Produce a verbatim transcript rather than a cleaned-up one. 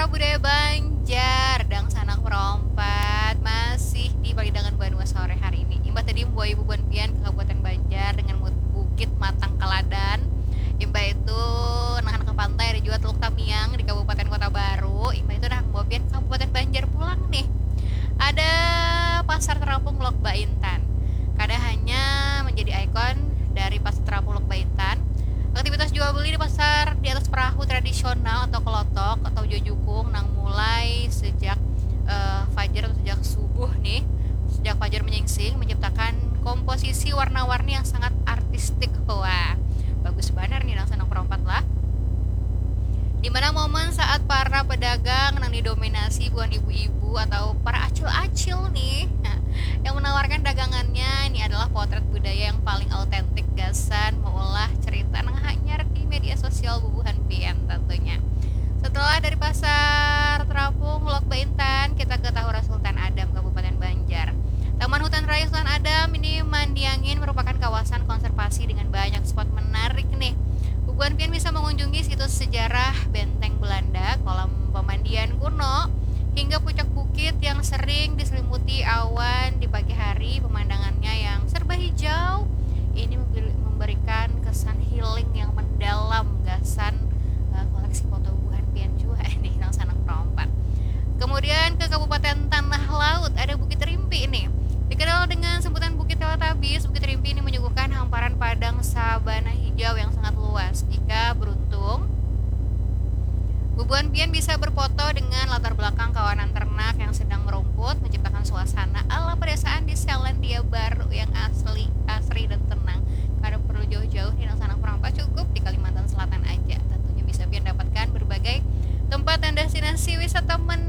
Budaya Banjar, dangsanak perompat, masih di Palidangan Banua sore hari ini. Imbah tadi membawa ibu buan pian ke Kabupaten Banjar dengan mut-, Bukit Matang Kaladan. Imbah itu nahan ke pantai, ada juga Teluk Tamiang di Kabupaten Kota Baru. Imbah itu nahan membawa pian ke Kabupaten Banjar pulang nih. Ada Pasar Terapung Lok Baintan. Kada hanya menjadi ikon dari Pasar Terapung Lok Baintan, aktivitas jual beli di pasar di atas perahu tradisional atau kelotok atau jojukung nang mulai sejak, eh, fajar atau sejak subuh nih, sejak fajar menyingsing, menciptakan komposisi warna-warni yang sangat artistik. Wah, bagus banar nih dangsanak perompat lah. Di mana momen saat para pedagang nang didominasi buhan ibu-ibu atau para acil-acil nih, yang menawarkan dagangannya, ini adalah potret budaya yang paling autentik gasan meulah cerita nang hanyar di media sosial bubuhan pian tentunya. Setelah dari Pasar Terapung Lok Baintan, kita ke Tahura Sultan Adam, Kabupaten Banjar. Taman Hutan Raya Sultan Adam ini, Mandiangin, merupakan kawasan konservasi dengan banyak spot menarik nih. Bubuhan pian bisa mengunjungi situs sejarah benteng Belanda, kolam pemandian kuno, hingga puncak bukit yang sering diselimuti awan di pagi hari. Pemandangannya yang serba hijau ini memberi-, memberikan kesan healing yang mendalam gasan, eh, koleksi foto bubuhan pian jua nih, dangsanak perompat. Kemudian ke Kabupaten Tanah Laut, ada Bukit Rimpi nih. Dikenal dengan sebutan Bukit Teletubbies, Bukit Rimpi ini menyuguhkan hamparan padang sabana hijau yang sangat luas. Jika beruntung, bubuhan pian bisa berfoto dengan latar belakang kawanan ternak yang sedang merumput, menciptakan suasana ala pedesaan di Selandia Baru yang asli, asri dan tenang. Kada perlu jauh-jauh nih, dangsanak perompat, cukup di Kalimantan Selatan aja. Tentunya bisa pian dapatkan berbagai tempat dan destinasi wisata menarik